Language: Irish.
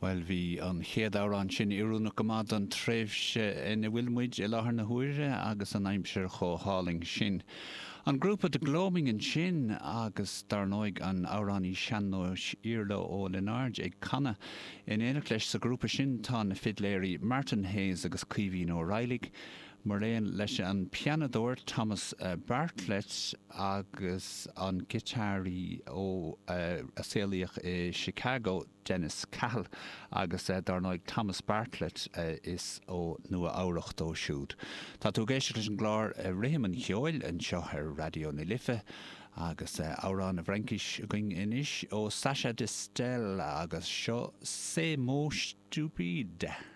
Bhuel, bhí an chéad amhrán sin oiriúnach go maith don tréimhse ina bhfuil muid i láthair na huaire agus an aimsir chomh hálainn sin. An grúpa The Gloaming ansin agus dar ndóigh an amhránaí sean-nóis Iarla Ó Lionáird ag canadh. In éineacht leis sa ghrúpa sin tá na fidléirí Martin Hayes agus Caoimhín Ó Raghallaigh, maraon leis an pianadóir Thomas Bartlett agus an giotáraí ó a saolaíodh i Chicago, Dennis Cahill, agus dar ndóigh Thomas Bartlett is ó Nua Eabhrach dó siúd. Tá tú ag éisteacht leis an gclár Rithim an Cheoil anseo ar Raidió na Life agus amhrán i bhFraincis againn anois ó Sacha Distel agus seo Ces mots stupides.